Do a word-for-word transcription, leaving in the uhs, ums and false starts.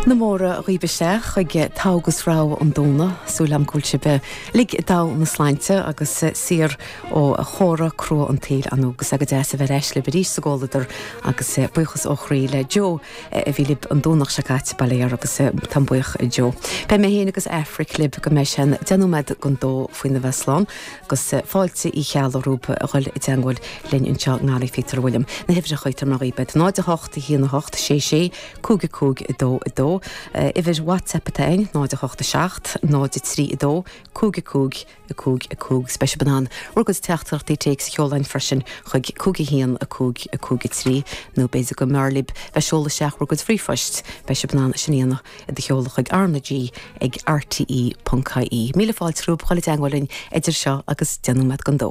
Na móra dhaoibh isteach chuig Togha agus Rogha an Domhnaigh súil agam go bhfuil sibh uilig i dtogha na sláinte agus saor ó chora crua an tsaoil ann agus go deas a bheith ar ais libh arís sa gcomhluadar agus buíochas ó chroí le Joe a bhí libh an Domhnach seo caite bail ó Dhia air agus táim buíoch Joe. Beidh mé féin agus Aifric libh go mbeidh sé deich nóiméad don dó faoina bheith slán agus fáilte Uí Cheallaigh romhaibh a dhul i dteagmháil linn anseo ngarraí Peter William. Na huimhreacha tar mar beid náid a hocht a haon a hocht sé sé cúig cúig dó a dó. Uimhir WhatsApp atá ann náid a hocht a seacht náid a trí a dó cúig cúig a cúig a cúig beidh sibh in ann bhur gcuid teachtaireachtaí téacs a sheoladh freisin chuig cúig a haon a cúig a cúig a trí nó b'fhéidir go mb'fhearr libh bheith seoladh isteach bhur gcuid ríomhphoist beidh sibh in ann sin a dhéanamh do sheoladh chuig RnaG ag RTE.ie. Míle fáilte romhaibh chuile dteagmháil idir seo agus deich nóiméad don dó.